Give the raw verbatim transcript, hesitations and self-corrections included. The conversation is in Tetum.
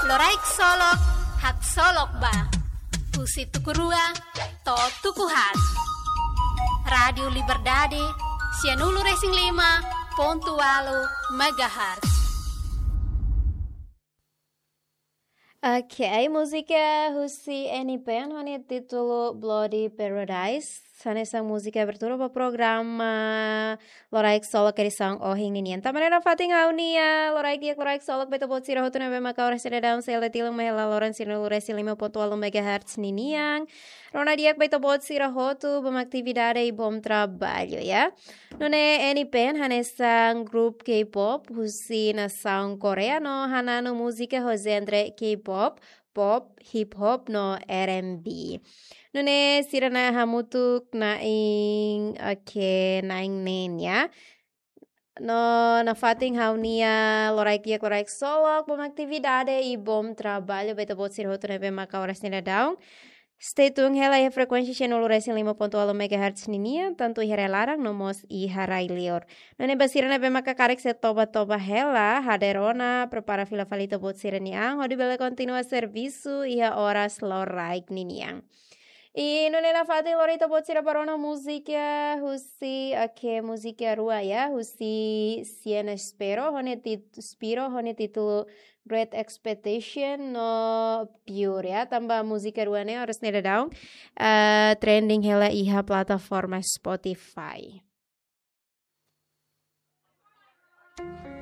Loraik Solok, haksolok ba. Husi tuku rua to'o tuku haat. Rádiu Liberdade, sianulu-resin-lima pontu ualu megahertz. Oke, múzika husi Eni Pen ho nia títulu Bloody Paradise. Hanesan múzika abertura ba programa Loraik Solok edisaun ohin ninian. Tanba ne'e nafatin ha'u-nia loraik di'ak, loraik solok ba ita-boot sira hotu ne'ebé maka oras ne'e daudaun sei la tilun mai hela loron sianulu-resin-lima pontu ualu megahertz ninian. Rona di'ak ba ita-boot sira hotu, bom atividade i bom traballu, ya. Nune'e Eni Pen hanesan grupu K-pop husi nasaun Koreia no hananu múzika ho genre K-pop, pop, hip hop no R and B. Nune'e sira-nia hamutuk na'in, oke, na'in neen, ya. No nafatin ha'u-nia loraik di'ak, loraik solok, bom atividade i bom traballu ba ita-boot sira hotu ne'ebé maka oras ne'e daudaun. Stay tune hela iha frekuénsia sianulu-resin-lima pontu ualu megahertz ninian, tantu iha rai laran no mós iha rai liur. Nune'e ba sira ne'ebé maka karik sei toba-toba hela, hader ona, prepara fila fali ita-boot sira-nia an, hodi bele kontinua servisu iha oras loraik ninian. I nune'e nafatin lori ita-boot sira ba rona múzika husi, oke, múzika rua, ya, husi Sienna Spiro, ho nia tit-, Spiro, ho nia títulu Great Expectation no Pure, ya. Tanba múzika rua ne'e oras ne'e daudaun, eh, trending hela iha plataforma Spotify.